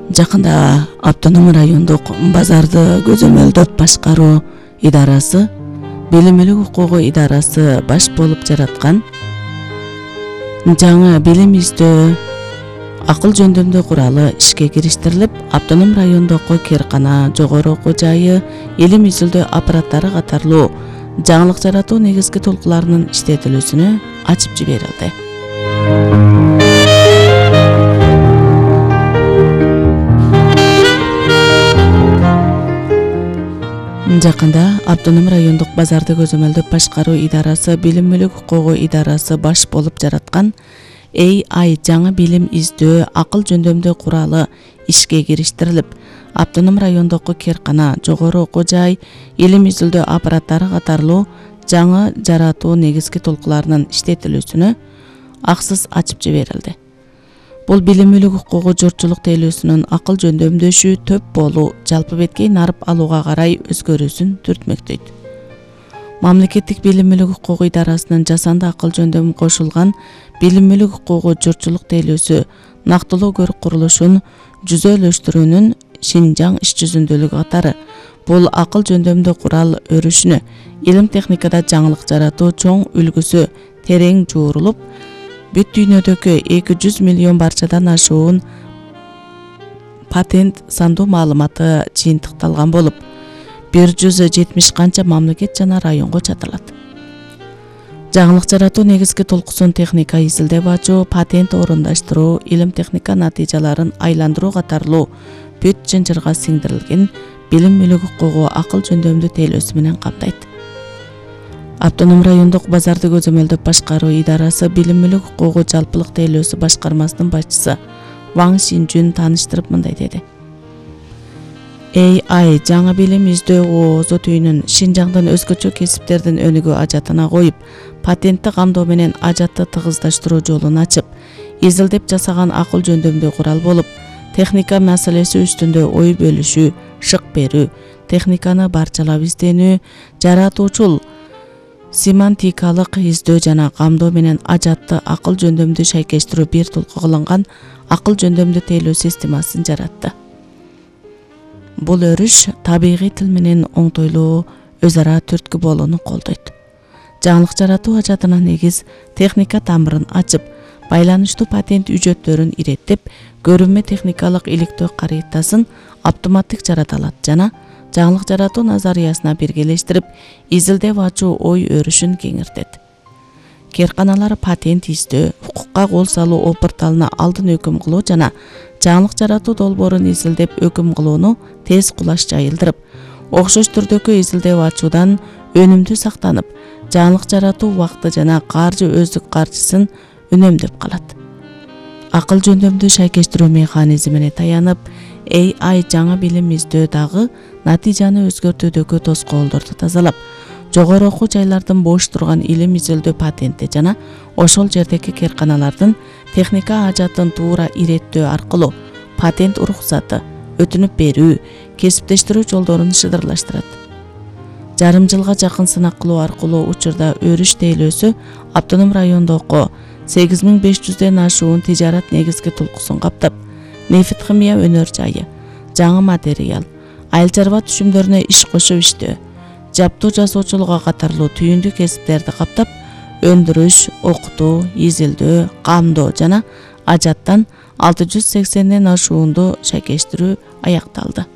Жакында Автоном райондук базарды көзөмөлдөп башкаруу идарасы, билимилик укугу идарасы баш болуп жараткан жаңы билим издөө акыл жөндөмдүү куралы ишке кириштирилип, Автоном райондогу Керкана жогору окуу жайы, илим изилдөө аппараттары катарлуу жаңылык жаратуу негизги толкуларынын иштетилүүсүнө ачып жиберилди. Жакында Автоном райондук базарды көзөмөлдөп башкаруу идарасы, билимилик укугу идарасы баш болуп жараткан AI жаңы билим издөө акыл жөндөмдүү куралы ишке кириштирилип, Автоном райондогу Керкана жогору окуу жай, илим изилдөө аппараттары катарлуу жаңы жаратуу негизги толкуларынын иштетилүүсүнө аксыз ачып жиберилди. Бул билимилик укугу журтчулук тейлөөсүнүн акыл жөндөмдөшү төп болуу, жалпы беткей нарып алууга карай өзгөрүүсүн түртмөктөйт. Мамлекеттик билимилик укугу идарасынын жасанды акыл жөндөмү кошулган билимилик укугу журтчулук тейлөөсү нактылоо көрүк курулушун жүзөлөштүрүүнүн Шинжаң иш жүзүндөлүгү катары бул акыл жөндөмдүү курал өрүшүнө илим техникада жаңылык жаратуу чоң үлгүсү терең жуурулуп, бүт дүйнөдөгү 200 миллион барчадан ашуун патент сандуу маалыматы жыйынтыкталган болуп, 170 канча мамлекет жана районго чатырылат. Жаңылык жаратуу негизги толкусын техника изилдеп ачуу, патент орундаштыруу, илим техника натыйжаларын айландыруу катарлуу бүт жынжырга сиңдирилген билимилик укугу акыл жөндөмдүү тейлөөсү менен камтайт. Автоном райондук базарды көзөмөлдөп башкаруу идарасы, билимилик укугу жалпылык тейлөөсү башкармасынын башчысы Ваң Шинжун тааныштырып мындай деди. AI жаңы билим издөө оозу түйүнүн Шинжаңдын өзгөчө кесиптердин өнүгүү ажатына коюп, патентти камдоо менен ажатты тыгыздаштыруу жолун ачып, изилдеп жасаган акыл жөндөмдүү курал болуп, техника маселеси үстүндө ой бөлүшүү, шык берүү, техниканы барчалап изденүү, жаратуучул семантикалык издөө жана камдоо менен ажатты акыл жөндөмдүү шайкештирүү бир толку кылынган акыл жөндөмдүү тейлөө системасын жаратты. Бул өрүш табигый тил менен оңтойлуу өз ара түрткү болууну колдойт. Жаңылык жаратуу ажатына негиз техника тамырын ачып, байланыштуу патент үжөттөрүн иреттеп, көрүнмө техникалык иликтөө карыйтасын автоматтык жарата алат жана жаңылык жаратуу назариясына биргелештирип, изилдеп ачуу ой өрүшүн кеңиртет. Керканалар патент издөө, укукка кол салуу опурталына алдын өкүм кылуу жана жаңылык жаратуу долбоорун изилдеп өкүм кылууну тез кулаш жайылдырып, окшош түрдөгү изилдеп ачуудан өнүмдүү сактанып, жаңылык жаратуу убакыты жана каржы өздүк каржысын үнөмдөп калат. Акыл жөндөмдүү шайкештирүү механизмине таянып, AI жаңы билим издөө дагы натыйжаны өзгөртүүдөгү тоскоолдорду тазалап, жогору окуу жайлардын бош турган илим изилдөө патенти жана ошол жердеги керканалардын техника ажатын туура иреттөө аркылуу патент уруксаты, өтүнүп берүү, кесиптештирүү жолдорун шыдырлаштырат. Жарым жылга жакын сынак кылуу аркылуу учурда өрүш тейлөөсү Автоном райондогу 8500ден ашуун тижарат негизги толкусун каптап, нефт химия өнөр жайы, жаңы материал, айыл чарба түшүмдөрүнө иш кошуп иштөө, жаптуу жасоочулукка катарлуу түйүндүү кесиптерди каптап, өндүрүш, окутуу, изилдөө, камдоо жана ажаттан 680ден ашуунду шайкештирүү аякталды.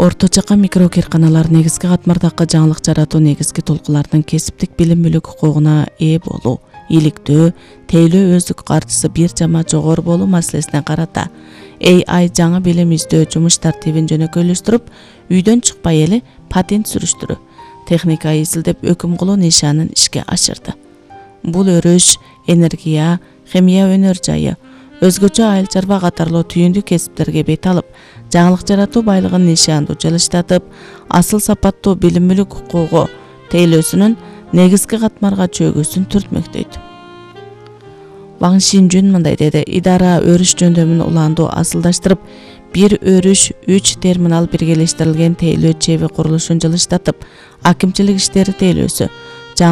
Орто чакан микро керканалар негизги катмардагы жаңылык жаратуу негизги толкуларынын кесиптик билимилик укугуна ээ болуу, иликтөө, тейлөө өздүк каржысы бир жама жогору болуу маселесине карата AI жаңы билим издөө жумуш тартибин жөнөкөйлөштүрүп, үйдөн чыкпай эле патент сүрүштүрүү, техника изилдеп өкүм кылуу нишанын ишке ашырды. Бул өрүш энергия, химия өнөр жайы, өзгөчө айыл чарба катарлуу түйүндүү кесиптерге бет алып, жаңылык жаратуу байлыгын нишандуу жылыштатып, асыл сапаттуу билимилик укугу тейлөөсүнүн негизги катмарга чөгүүсүн түртмөктөйт. Ваң Шинжун мындай деди. Идара өрүш жөндөмүн уландуу асылдаштырып, бир өрүш 3 терминал биргелештирилген тейлөө чеби курулушун жылыштатып, акимчилик иштери тейлөөсү,